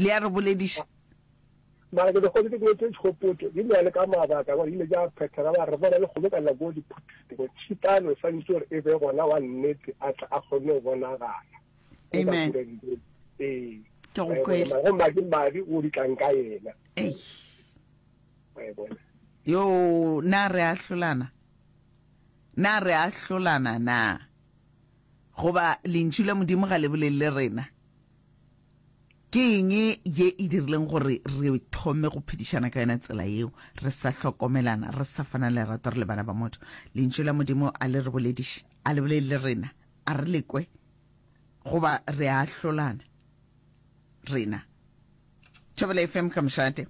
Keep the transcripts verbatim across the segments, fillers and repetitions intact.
Le a re bolediša. Mara ke dikgodi tse tse tšhopotšo di na le ka mabaka gore ile ja phethela ba re bona le kgobokana go diphuthego tšhitano e santse gore e be gona wa nnete a tla a kgone go bonagala. Amen. Ee. Ke go kwele. Go madi madi o di tlang ka yena. Ei. Wa e bona. Yo, na re ahlolana? Na re ahlolana na? Goba lentšu la Modimo ga le bolele le rena? Ke eng ye e dirileng gore re thome go phedišana ka yona tsela yeo, re sa hlokomelana, re sa fana lerato re le bana ba motho? Lentšu la Modimo a le re bolediše, a le bolele le rena, a re le kwe, goba re a ahlolana rena? Thobela F M ka mošate.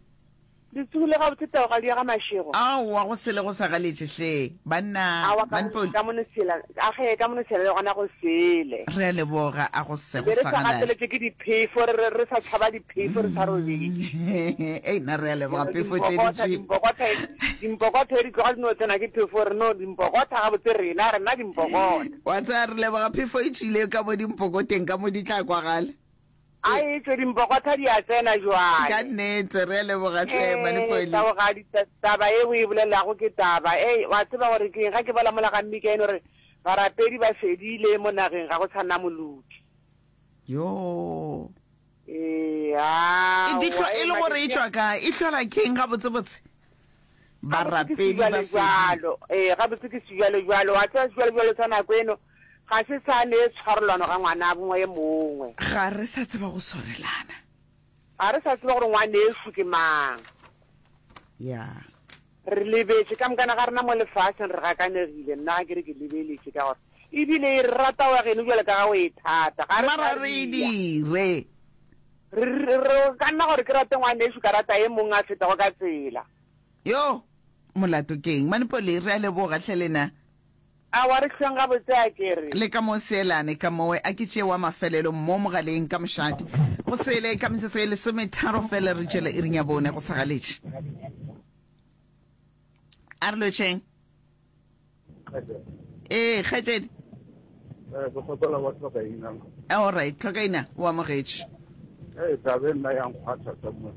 Le tsogile gabotse taogadi ya ga Mashego? Aowa, go sele go sa galetše hle, banna. Aowa, ka Manpoli. ka mono sela, a ge, ka mono sela le gona go sele. Re a leboga, a go se go Be re sa sa galale. gateletše ke diphefo, re re re sa tšhaba diphefo, re sa robetše. Ei, nna re a leboga, phefo tše di Dimpokotha, tšwile. dimpokotha, dimpokotha di tloga di no tsena ke phefo, re no dimpokotha gabotse rena, rena dimpokotha. Wa tseba, re leboga phefo e tšwile ka mo dimpokoteng, ka mo di tla kwagala. A e tšwe dimpokotha di a tsena jwale. Ka nnete, re a leboga hle, Ee, Manipoli. Taogadi, ta, taba ye o e bolelago ke taba. Ei, wa tseba gore ke eng, ga ke bala mola ga Mika eno re, barapedi ba fedile mo nageng, ga go sa na moloki. Yoo. Ee, E di aowa, hlo, e ee, le gore e matšatši a. tšwa kae? E hlola ke eng gabotsebotse? Gabotse ke Barapedi ba fedile. sejwalejwalo. Ee, gabotse ke sejwalejwalo. Wa tseba sejwalejwalo sa nako eno ga se sa ne tshwarelano ga ngwana bongwe ye mongwe. Ga re sa tseba go swarelana. Ga re sa tseba gore ngwanešu ke mang. Ya. Re lebetše ka mokana ga rena mo lefaseng, re gakanegile. Nna ga ke re ke lebeletše ka gore ebile e re rata wa geno bjalo ka ga o e thata. Ga re sa Mara re e ria. dire. Re, re, re ka nna gore ke rate ngwanešu ka rata e mongwe a fetago ka tsela. Yo, molato ke eng? Manipoli, re a leboga hle lena. Aowa, re hlweng gabotse a ke re. Le ka mo seelane ka mowe, a ke tšee wa mafelelo mo mogaleng ka mošate. Go sele ka metsotso e lesometharo fela re tšwele iring ya bone go sa galetše. A re lotšheng. Ee, kgaetšedi. Eh, ke kgopela wa tlhokaina. All right, tlhokaina, o amogetše. Ee, taba e nna ya nkgwatha somewhere.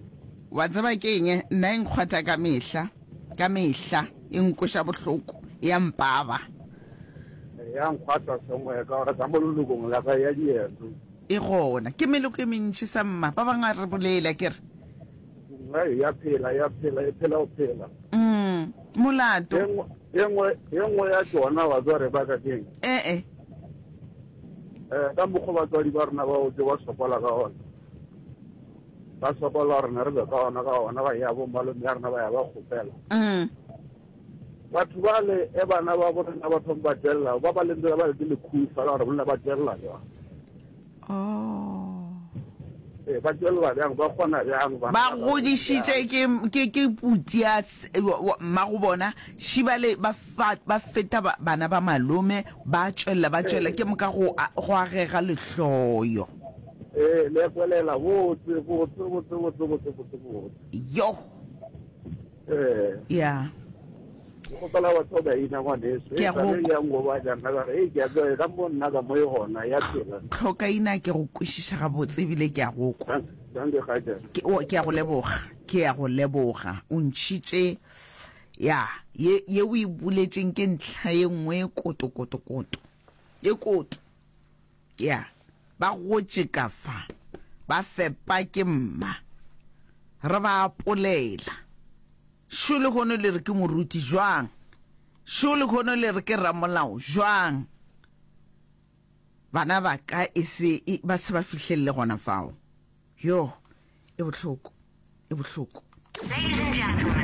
Wa tseba ke eng? Nna e nkgwatha ka mehla, ka mehla e nkweša bohloko, e a mpaba. Ya nkgwatha somewhere ka gore ka mo lelokong la ka ya dieto. E gona, ke meloko e mentši sa mma, ba bangwe a re bolele a ke re. Ai, ya phela, ya phela, e phela go phela. Mm, molato. E nngwe, e nngwe, e nngwe ya tšona wa tseba re baka keng? Ee. Eh, ka mokgwa batswadi ba rena ba otse ba sokola ka ona. Ba sokola rena re be ka ona ka ona ba ya bo malome ya rena ba ya ba kgopela. Mm. Batho ba le e bana ba bo rena ba thoma ba tšwelela, ba ba lentse ba le ke lekhufa la gore bonna ba tšwelela jwang. Oh. Ee, ba tšwelela bjang, ba kgona bjang bana Ba ba ba godišitše bjang. ke, ke, ke puti ya s-, wa, wa, mmago bona, šibale ba fa, ba feta ba, bana ba malome, ba tšwelela, ba tšwelela, ke moka go, go agega lehloyo. Ee, le kwelela botse, botse, botse, botse, botse, botse, botse. Yoh. Ee. Ya. Ke kgopela batho ba ina ngwaneso. Ke a go ya ngoba ja nna ka re, "Ei, ke a tseba ka mo nna ka mo e gona ya phela." Tlhokaina ke go kwešiša gabotse ebile ke a go kwa. Danke kgaetšedi. Ke, o, ke a go leboga. Ke a go leboga. O ntšhitše ya ye ye o e buletšeng ke ntlha ye nngwe koto koto koto. Ye koto. Ya. Ba gotše ka fa. Ba fepa ke mma. Re ba apolela. Šo lehono le re ke moruti jwang? Šo lehono le re ke ramolao jwang? Bana ba ka e se e, ba se ba fihlelele gona fao. Yo, e bohloko, e bohloko.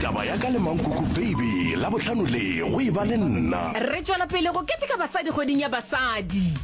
Taba ya ka le Mankuku Baby Labohlano le go e ba le nna. Re tšwela pele go keteka basadi kgweding ya basadi.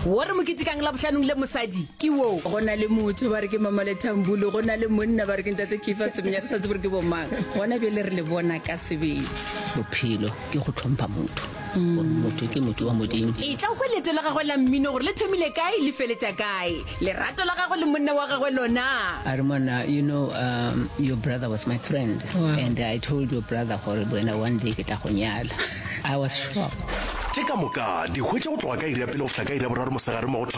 Wo re mo ketekang Labohlanong le mosadi ke wo. Go na le motho ba re ke Mama Lethambulu, go na le monna ba re ke Ntate Kefa Semenya, re sa tsebe gore ke bomang. Gona bjale re le bona ka sebele. Bophelo ke go hlompha motho, gore motho ke motho wa Modimo. Etla o kwe leeto la gagwe la mmino gore le thomile kae le feletša kae. Lerato la gagwe le monna wa gagwe lona. A re monna, you know, um, your brother was my friend. Wow. And I told your brother gore wena one day ke tla go nyala. I was shocked. Tše ka moka di hwetša go tloga ka iri ya pele go fihla ka iri ya boraro mosegare mo go Thobela.